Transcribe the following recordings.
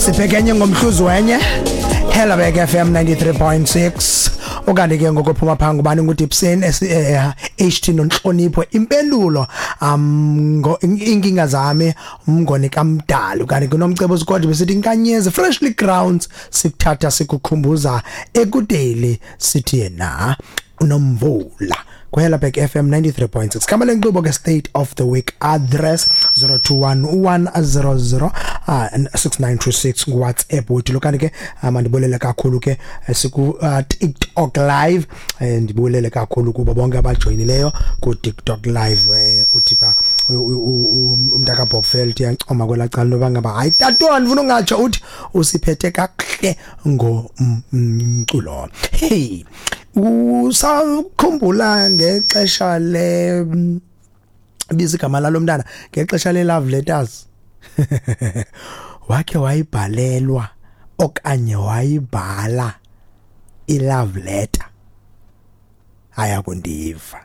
Sibhekenye ngomhluzi wenye Helabek FM 93.6. Ukanti ke ngokuphuma phaa ngubani? NguDipson HT nonhlonipho impendulo inkinga zami umngoni kamdali. Ukanti kunomcebo sikodwa besithi inkanyezi freshly grounds sikuthatha sikukhumbuza ekudeli, sithi yena unomvula kwiHelabek FM 93.6. Khamba lenkqubo ke State of the Week Address, 021 100 6926 nguWhatsApp wethu lo. Kanti ke mandibulele kakhulu ke siku TikTok Live. Ndibulele kakhulu kubo bonke abajoyinileyo ku TikTok Live. Uthi pha umntaka Bokfeld yancoma kwelaa cala noba ngaba hayi tatwana ndifuna ungatsho, uthi usiphethe kakuhle ngomculo. Hey, usakhumbula ngexesha le biza igama lalo mntana, ngexesha le love letters, wakhe wayibhalelwa okanye wayibhala i-love letter? Ayakundiva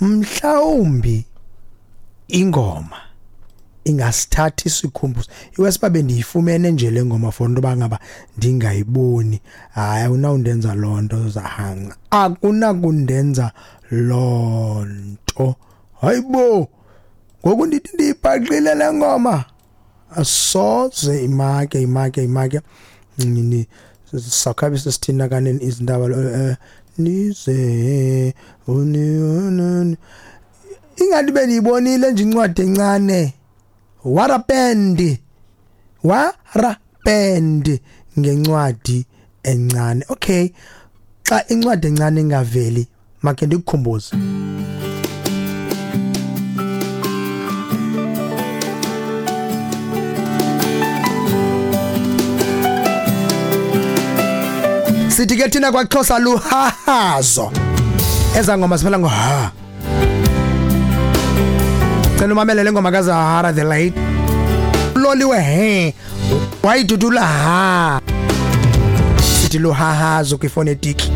mhlawumbi ingoma ingasithatha isikhumbuzo iwesiba bendiyifumene nje le ngoma for into ngaba ndingayiboni. Hayi, awunawundenza loo nto zahanga, akunakundenza loo nto. Hayibo, ngoku ndithi ndiyibhaqile le ngoma, asoze imake imake imake ni sakhabe sesithina kaneni izindaba nize uni ingathi bendiyibonile nje incwadi encane warapendi warapendi ngencwadi encane. Okay, xa incwadi encane ingaveli, make ndikukhumbuze. Sithi ke thina kwaXhosa luhahazo, eza ngoma siphela ngo ha. Cela umamele le ngoma kaZahara the Late, loliwe he wayidudula ha. Sithi luhahazo kwifonetiki.